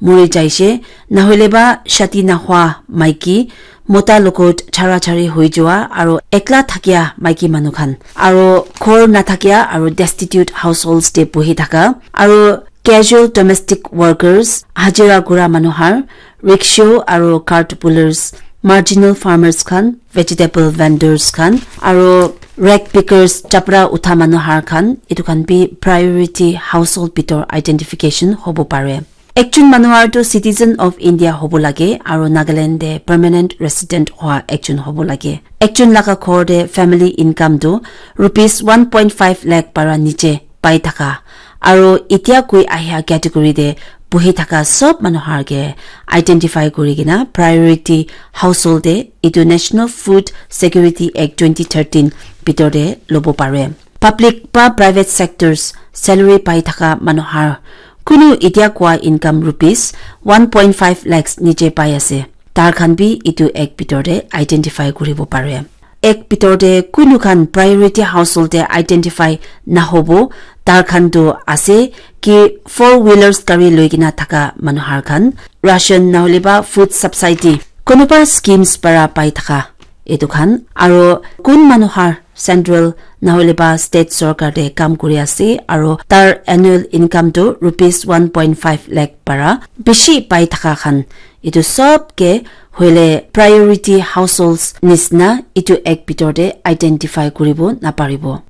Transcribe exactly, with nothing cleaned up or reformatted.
muri jaise, nahoile ba shadi nahwa maiki, mota logot chara chari hoi jua, aro ekla thakia maiki manu khan, aro ghor nathakia aro destitute households te buhi thaka, aro casual domestic workers, hajira kura manu har, rickshaw aro cart pullers, marginal farmers khan, vegetable vendors khan, aro rag pickers, chapra utha manu har khan, etu khan bi priority household bitor identification hobo pare. Ekjon manu har tu citizen of India hobo lage, aro Nagaland te permanent resident hoa ekjon hobo lage. Ekjon laga ghor te family income tu rupees one point five lakh para niche pai thaka, aro etia koi ahia category te buhi thaka sob manu har ke identify kuri kena priority household te etu National Food Security Act twenty thirteen bitor te lobo pare. Public ba private sectors salary pai thaka manu har kunu etia kua income rupees one point five lakhs niche pai ase, tar khan bi etu act bitor te identify kuribo pare. Act bitor te kunu khan priority household te identify nahobo, tar khan tu ase ki four wheelers gari loi kena thaka manu har khan, ration nahole ba food subsidy, kunuba schemes para pai thaka etu khan, aro kun manu har central nahole ba state sorkar te kam kuri ase, aro tar annual income tu rupees one point five lakh para bishi pai thaka khan, etu sob ke hoile priority households nisna etu act bitor te identify kuribo naparibo.